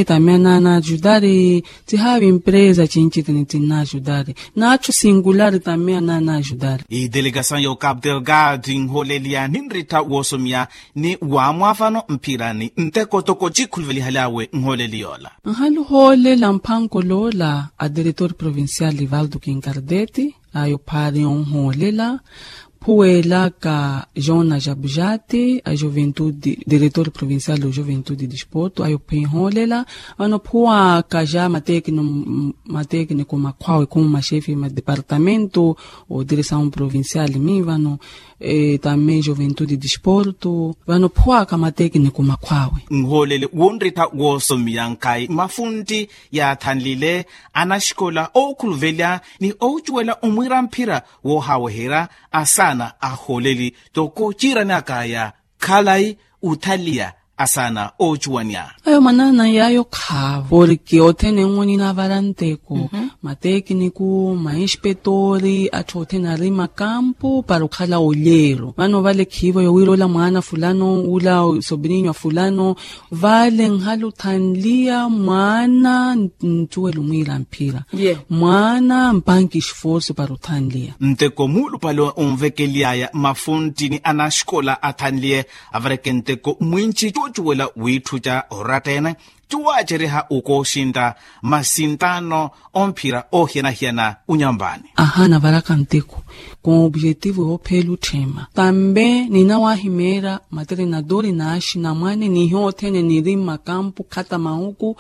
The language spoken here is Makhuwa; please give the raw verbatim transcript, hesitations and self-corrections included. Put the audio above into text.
Tamia naana ajudari. Tihaavi empresa chinchitini tinna ajudari. Naachu singulari tamia naana ajudari. Idelegasayo capital guard nholeliya ninritta woosomia ni waamwavano mpirani nteko toko chikhuluvelihaly'awe nholeli yoola. Nhalu hoolela mphanko loola a diretor provincial livaldo kinkardeti. Ayo phaari onhoolela phuweelaka jona jabujati a juventude diretor provincial o juventude disporto ayo phenhoolela. Vano phuwaka ja matekniko makhwawe khumu maxefe ma departamento o diresaon provincial mi vano tamei juventude disporto vano phuwaka matekniko makhwawe. Nhoolele wonrittha woosomiya nkhayi mafuntti yaathanlile anaxikola ookhuluvelya ni oocuwela omwiira mphira woohaweherya asaana ahooleli toko ciiranakaya khalayi othaliya asaana oocuwanya. Ayo manaana yaayo khaavo porke othene nwo ninaavara nteko matekniku mainspetoori atthu othene ari makampu para okhala olyeero vano vale khiivo yowiroola mwaana fulano ula sobrinya fulano vale nhala othanliya mwaana ncuwela omwiira mphira mwaana mpanki esforso para othanliya. Nteko muulupale onvekely'aya mafuntti ni anaxikola athanliye avareke nteko mwinci cuucuwela wiitthuca oratta-ene cuwaacereha okooxintta masinttaano omphira oohiyana-hiyana onyampaani. Ahaana avaraka nteko com objetivo yoopheela otthema tambe ninawahimeera materinadori naaxi namwane nihiyo othene niri mmakampu khata mahuku